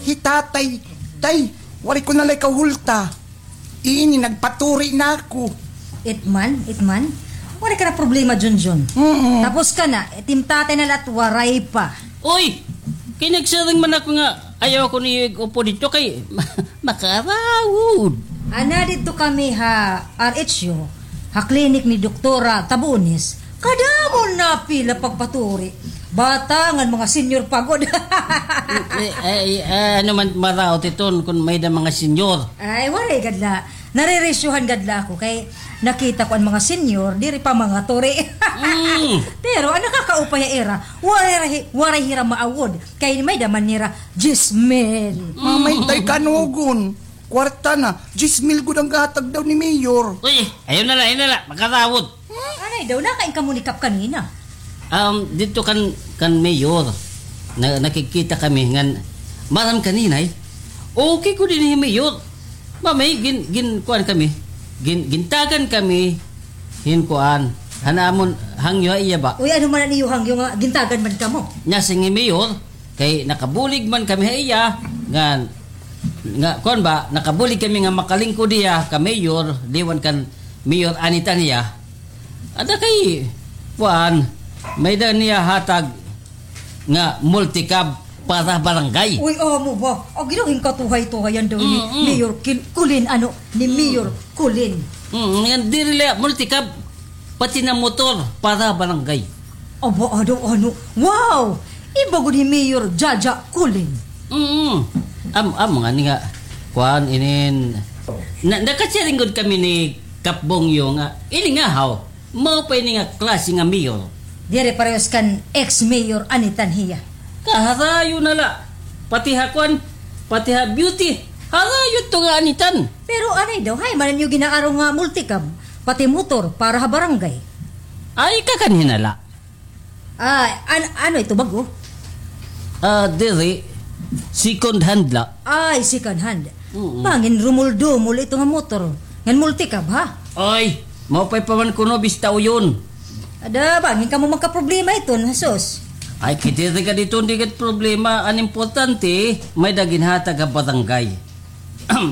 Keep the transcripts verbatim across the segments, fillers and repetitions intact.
Hi tatay, tay, waray ko na la ikaw hulta. Ini, nagpaturi na ako. Itman, itman. Waray ka na problema, Junjun. Mm-mm. Tapos ka na, itim tatay na la it waray pa. Uy! Kay nagsiring man ako nga, ayaw ako niyo ig-upo didto kay makarawod. Ana, didto kami ha R H U, ha klinik ni Doktora Tabones. Kadamo na pila pagpaturi. Bata ngan mga senior pa gud. Eh, eh, eh, ano man maraot iton kun may-ada mga senior? Ay, waray gad la. Naririsyuhan gad la ako kay nakita ko an mga senior, diri pa mangaturi. Mm. Pero an nakakaupay ha ira, waray ra hi-, waray hira maawod kay may-ada man nira diyes mil. Mamay tay kanugon. Kwarta na, diyes mil gud an gahatag daw ni Mayor. Uy, ayaw na la, ayaw na la, makarawod. Anay daw, nakain kamo ni Kap kanina? Um, didto kan, kan Mayor, na, nakikita kami ngan, maaram kanina, eh. Okay ko dinhi, Mayor. Mamay, gin-, gin-, kuan kami. Gin-, gintagan kami hin kuan. Han amon hangyo ha iya ba? Uy, ano man an iyo hangyo nga gintagan man kamo? Nya, sige, Mayor, kay nakabulig man kami ha iya, ngan, nga, kuan ba, nakabulig kami nga makalingkod hiya ka mayor, liwan kan Mayor Anita niya. Ada kay, kuan, may-ada niya hatag nga multicab para barangay. Uy, amo ba? Agi daw hin katuhay-tuhayan daw ni Mm, mm. Mayor Kil-, Kulin, ano, ni Mm. Mayor Kulin. Mm, ngan diri la multicab, pati na motor para barangay. Aba, ano, ano? Wow! Iba gud hi Mayor Jaja Kulin. Mm. Am, am, nga ni nga, kuan, inin, na, nakasiring gud kami ni Kap Bongyo nga, ini nga haw, mao pa ini nga klase nga mayor. Diri parehas kan ex-mayor Anitan hiya. Kaharayo na la, pati ha kuan, pati ha beauty, harayo to nga Anitan. Pero anay daw, hay, man niyo ginaaro nga multicab, pati motor, para ha barangay. Ay, kakanhi na la. Ah, an-, ano ito, bag-o? Ah, diri. Second hand la. Ay, second hand. Oo. Bangin rumol-dumol ito nga motor. Ngan multicab, ha? Ay, maupay pa man kuno, bista uyon. Ada, bangin kamo magkaproblema iton, sus. Ay, kay diri gad iton, di gad problema. An importante, may-ada ginhatag ha barangay.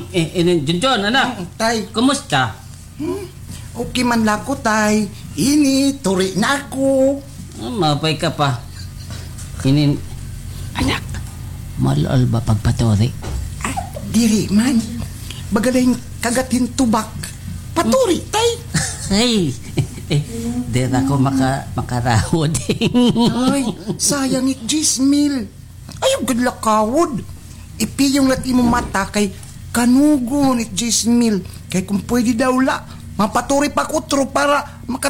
Eh, ini, Junjun, anak. Mm, tay. Kumusta? Hmm? Okay man la ako, tay. Ini, turi na ako. Ah, maupay ka pa. Ini, anak, mal-al ba pagpaturi? Ah, diri man. Baga la hin kagat hin tubak. Paturi, tay. Ay, diri ako maka-, makarawod. Ay, sayang it diyes mil. Ayaw gad la kawod. Ipiyong la it imo mata kay kanugon it diyes mil. Kay kon pwede daw la, mapaturi pa ak utro para maka